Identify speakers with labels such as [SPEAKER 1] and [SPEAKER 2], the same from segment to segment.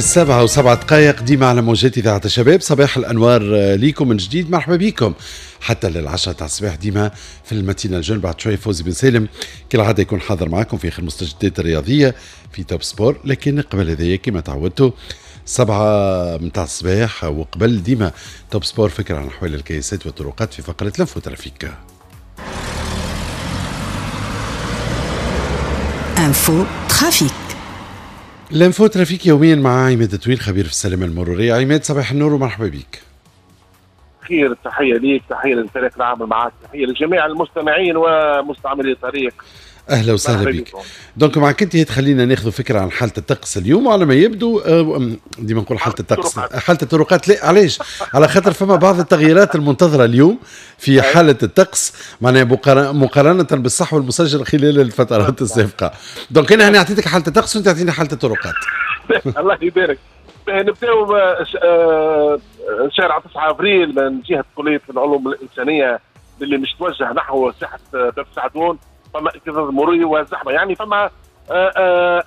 [SPEAKER 1] 7:07 ديما على موجات إذاعة الشباب. صباح الأنوار ليكم من جديد، مرحبا بكم حتى لل10 تاع الصباح ديما في ال matinale jeune. بعد شوية فوزي بن سالم كالعادة يكون حاضر معكم في آخر المستجدات الرياضية في Top Sport، لكن قبل هذايا كما تعودتوا 7 متاع الصباح وقبل ديما Top Sport فكرة عن أحوال الكياسات والطرقات في فقرة l'info trafic.
[SPEAKER 2] info trafic.
[SPEAKER 1] l'info trafic يوميا مع عماد طويل خبير في السلامة المرورية. عماد صباح النور ومرحبا بك.
[SPEAKER 3] خير، تحية ليك، تحية للفريق العامل معك، تحية لجميع المستمعين ومستعملي الطريق.
[SPEAKER 1] اهلا وسهلا بك. donc معك انت تخلينا ناخذ فكرة عن حاله الطقس اليوم، وعلى ما يبدو ديما نقول حاله الطقس، حاله الطرقات. لا علاش؟ على خاطر فما بعض التغييرات المنتظره اليوم في حاله الطقس، معناها مقارنة بالصحو المسجل خلال الفترات السابقة. donc انا هنا اعطيتك حاله الطقس وانت تعطيني حاله الطرقات.
[SPEAKER 3] الله يبارك. نبداو شارع 9 افريل من جهة كليه العلوم الانسانية اللي مش توجه نحو ساحة باب سعدون، فما اكتظاظ مروري وزحمه، يعني فما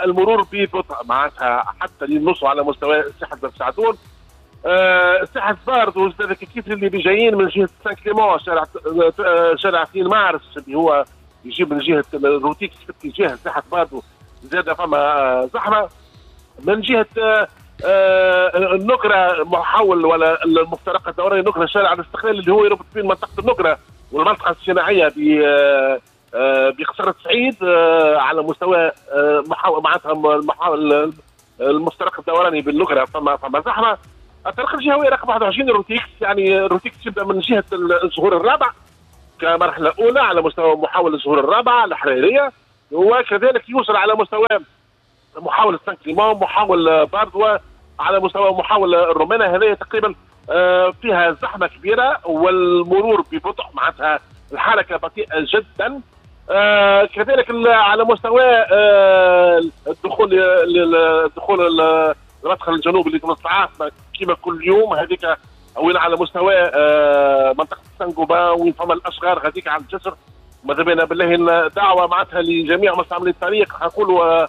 [SPEAKER 3] المرور ببطء معناتها حتى للنص على مستوى ساحة باب سعدون. ساحة باردو كيف اللي جايين من جهة سان كليمون، شارع 2 مارس اللي هو يجيب من جهة روتيكس في اتجاه ساحة باردو زاد فما زحمة. من جهة النقره محول ولا المفترق الدوري النقره شارع الاستقلال اللي هو يربط بين منطقة النقره والمنطقة الصناعية بقصر السعيد على مستوى معناتها المفترق الدوراني بالنقره فما زحمة. الطريق الجهوي رقم 21 روتيكس، يعني روتيكس يبدا من جهة الظهور الرابع كمرحلة اولى على مستوى محاولة الظهور الرابعة الحريريه، وكذلك يوصل على مستوى محاولة سان كليمون، محاول باردوا، على مستوى محاولة الرومانة. هذه تقريبا فيها زحمة كبيرة والمرور ببطء، معناتها الحركة بطيئه جدا. كذلك على مستوى الدخول المدخل الجنوبي لتونس العاصمة كما كل يوم، هذيك وين على مستوى منطقة سانغوبا وين فما الاشغال هذيك على الجسر. ماذا بينا بالله دعوه معناتها لجميع مستعملي الطريق، نقولوا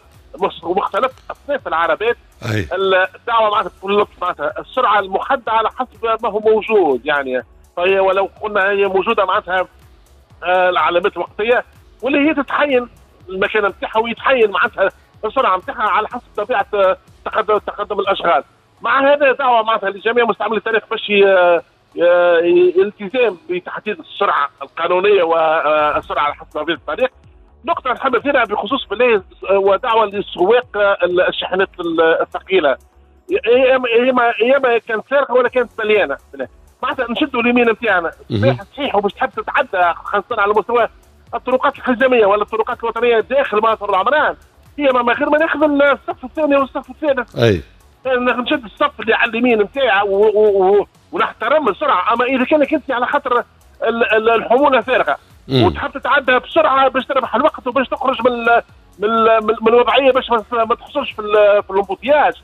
[SPEAKER 3] مختلف اصناف العربات، الدعوة معناتها بكل لطف، معناتها السرعة المحددة على حسب ما هو موجود، يعني فهي ولو قلنا هي موجودة معناتها العلامات الوقتية واللي هي تتحين المكان نتاعها ويتحين معناتها السرعة نتاعها على حسب طبيعة تقدم الاشغال. مع هذا دعوه معناتها لجميع مستعملي الطريق باش الالتزام بتحديد السرعة القانونية والسرعة على حسب طبيعة الطريق. نقطة نحب نثيرها بخصوص بالله ودعوة للسواق الشاحنات الثقيلة، يا اما كانت سارقه ولا كانت مليانة، معناتها نشدوا اليمين نتاعنا صحيح وباش تحب تتعدى خاصة على مستوى الطرقات الحزاميه ولا الطرقات الوطنية داخل مناطق العمران، هي ما غير ما ناخذ الصف الثاني والصف الثالث.
[SPEAKER 1] اي
[SPEAKER 3] نشد الصف اللي على اليمين نتاعي ونحترم السرعة. اما اذا كانك انت على خاطر الحمولة فارغة وتحب تتعدى بسرعة باش تربح الوقت وباش تخرج من الوضعية باش ما تحصلش في ال embouteillage،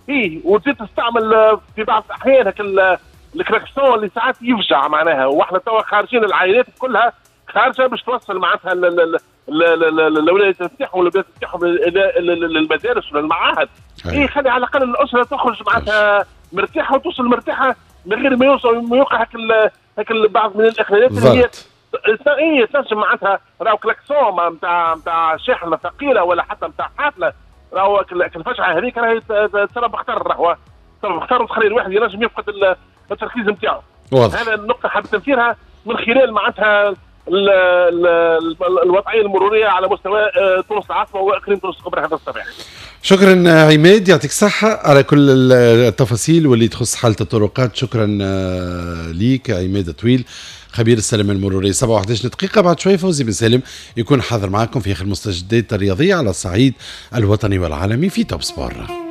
[SPEAKER 3] اي وتزيد تستعمل في بعض الاحيان هاك الكراكسون اللي ساعات يفجع معناها، واحنا توا خارجين العائلات كلها خارجه باش توصل معناتها الاولاد نتاعهم والبنات نتاعهم للمدارس ولا المعاهد. اي خلي على الاقل الاسرة تخرج معناتها مرتاحة وتوصل مرتاحة من غير ما يوصل ما يوقع هاك بعض من الاخلالات اللي هي اي تنجم معناتها راهو كلاكسون نتاع شاحنة ثقيلة ولا حتى نتاع حافلة، راهو الفجعه هذيك راهي تسبب خطر، راهو تسبب خطر وتخلي الواحد ينجم يفقد التركيز نتاعو. هذا النقطة حابب تنثيرها من خلال معناتها الوضعية المرورية على مستوى تونس العاصمة واقليم تونس الكبرى هذا الصباح.
[SPEAKER 1] شكرا عماد، يعطيك الصحة على كل التفاصيل واللي تخص حاله الطرقات. شكرا ليك عماد طويل خبير السلامة المرورية. 7:11 دقيقة بعد شوي فوزي بن سالم يكون حاضر معكم في آخر المستجدات الرياضية على الصعيد الوطني والعالمي في Top Sport.